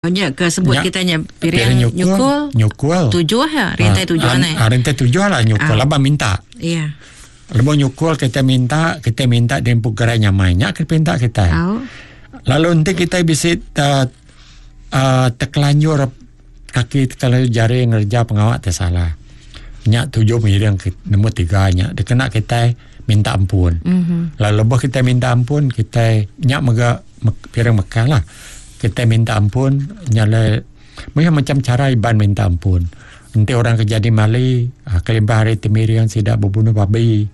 Nya ke sebut Nya kita nya piring piring nyukul, nyukul nyukul. tujuh ya, rintai Ah, tujuh ah, ne. ah, rintai tujuh lah nyukul Ah. laban minta. Iya. Lebuh nyukul kita minta, kita minta diempu gerai nyamai. Nya ke pinta kitai. Au. Lalu enti kitai bisi uh, uh, tekelanjur kaki tekelanjur jari ngereja pengawa ti salah. Nya tuju miring ke nombor tiga nya dikena kitai minta ampun. Mhm. Lalu lebuh kitai minta ampun kitai nya mega piring mekah lah. Kitai minta ampun nya alai mayuh macam chara Iban minta ampun. Enti orang ke jadi mali uhh kelimpah ari ti miring sida bebunuh babi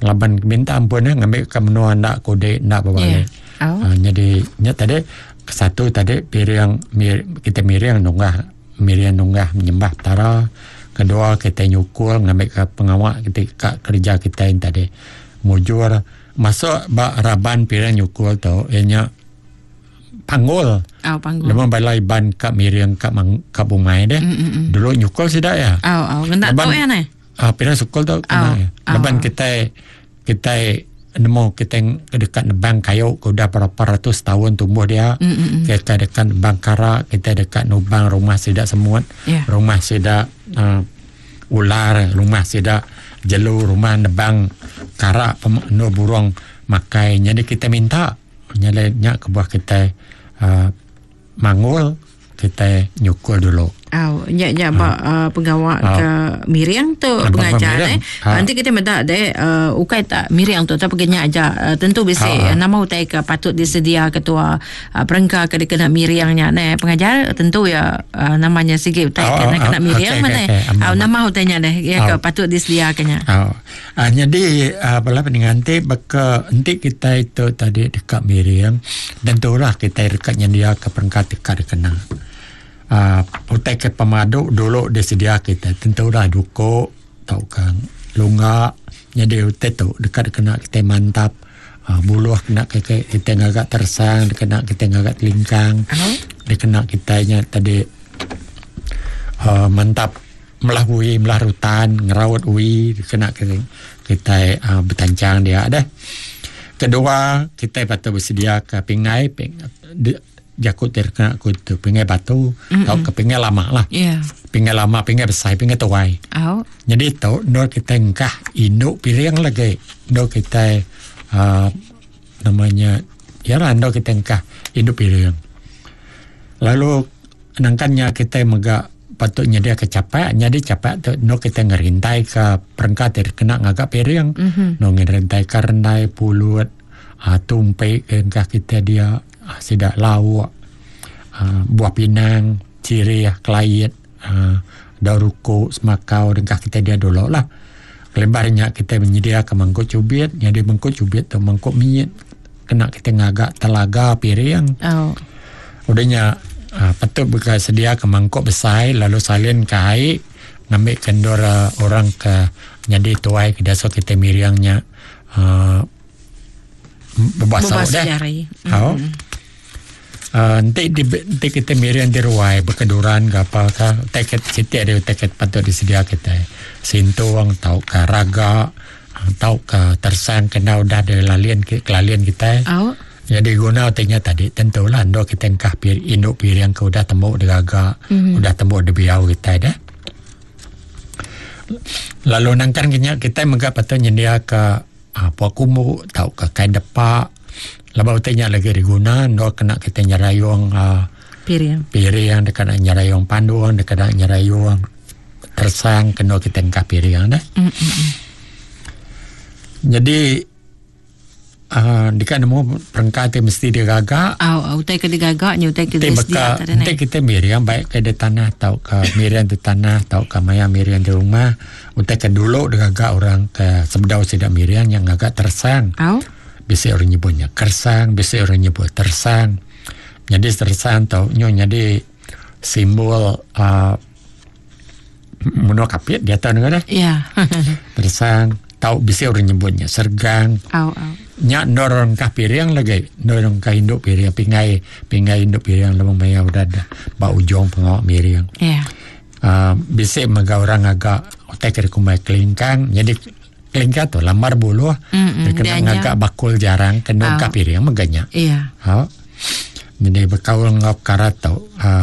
laban minta ampun eh ngambi ka menua enda kudi enda bebali. Yeah. Uhh nyadi nya tadi satu tadi piring kitai miring nunggah miring nunggah nyembah petara. Kedua kitai nyukul ngambi ka pengawa ti ka kerja kitai tadi mujur. Masuk ba raban piring nyukul tu iya nya panggul. Oh, panggul. Lebuh bala Iban ka miring ka mang, ka bungai deh. Mm, mm, mm. Dulu nyukul sida ya. Oh, oh. Ngena tu ya neh. Ah, piring sukul tu kena. Oh, ya. Laban oh. kitai kitai nemu kitai deka nebang kayu ke udah berapa ratus tahun tumbuh dia. Mm, mm, mm. Kitai deka nebang kara, kitai deka nubang rumah sida semut, Yeah. rumah sida uh, ular, rumah sida jelu, rumah nebang kara endur burung makai. Jadi kitai minta Nyadi nya kebuah kitai uhh manggul kitai nyukul dulu. Au nya nya ba uh, pengawa ke miring tu pengajar eh. Enti kita meda deh uh, ukai tak miring tu tapi nya aja uh, tentu bisi uh, nama utai ke patut disedia ketua uh, perengka ke dikena miring nya neh pengajar tentu ya uh, namanya sigi utai ke kena miring meh neh. Au nama utai nya deh ya ke patut disedia ke nya. Au. Aaa nyadi aaa bala peninga enti baka enti kitai tu tadi deka miring tentulah kitai deka nyendiaka perengka ti ka dikena. Aaa utai ke pemadu dulu disedia kitai tentulah duko tauka lungga nyadi utai tu deka dikena kitai mantap aaa buluh kena kitai ngaga teresang dikena kitai ngaga telingkang dikena kitai nya tadi aaa mantap. Melah ui, melah rutan, ngeraut ui kena kitai uhh betanchang dia deh. Kedua, kitai patut besedia ka pingai jaku ti kena ku tu pingai batu tauka pingai lama lah. Pingai lama, pingai besai, pingai tuai. Nyadi tu endur kitai engkah indu piring lagi endur kitai uhh nama nya iya lah endur kitai engkah indu piring. Lalu nangkan nya kitai mega patut nyediaka chapak nyadi chapak tu endur kitai ngerintaika perengka ti dikena ngaga piring endur ngerintaika rendai pulut uhh tumpi ke engka kitai dia uhh sida lauk uhh buah pinang sirih kelait uhh daun ruku semakau dengkah kitai dia dulu lah. Kelimpah ari nya kitai menyediaka mangkuk chubit nyadi mangkuk chubit tu mangkuk mit kena kitai ngaga telaga piring. Udah nya uhh patut mega sediaka mangkuk besai lalu salin ka ai ngambi ke endur orang ke nyadi tuai ke diasuh kitai miring nya uhh bebasa deh. Au. Uhh enti enti kitai miring di ruai bekeduran ke apa ka utai ke siti ari utai ke patut disedia kitai sintung tauka raga tauka teresang ke enda udah dilalin kelalin kitai. Nyadi guna ti nya tadi tentu lah endur kitai engkah indu piring ke udah tembu digaga udah tembu dibiau kitai deh. Lalu nangkan ke nya kitai mega patut nyendiaka uhh pua kumbu tauka kain depa laban utai nya lagi diguna endur kena kitai nyerayung uhh piring piring deka nyerayung pandung deka nyerayung teresang kenu kitai engkah piring deh. Nyadi. Aaa deka nemu perengka ti mesti digaga. Au utai ke digaga nya utai ke Ti beka enti kitai miring baik ke di tanah tauka miring di tanah tauka maya miring di rumah utai ke dulu digaga orang ke sebedau sida miring nya ngaga teresang. Au. Bisi orang nyebut nya keresang bisi orang nyebut teresang. Nyadi teresang tu nyu nyadi simbol aaa Menua Kapit diatu ne ngadah. Ya. Teresang tau bisi orang nyebut nya sergang. Au au. Nya endur orang engkah piring lagi. Endur orang engkah indu piring pingai pingai indu piring lebuh maya udah da ba ujung pengawa miring. Ya. Uh, bisi mega orang ngaga utai ke dikumbai kelingkang nyadi kelingkang tu lambar buluh Mm-mm, dikena dianjang. ngaga bakul jarang kena engkah piring mega nya. Ya. Ha. Jadi bekaul enggau pekara tu.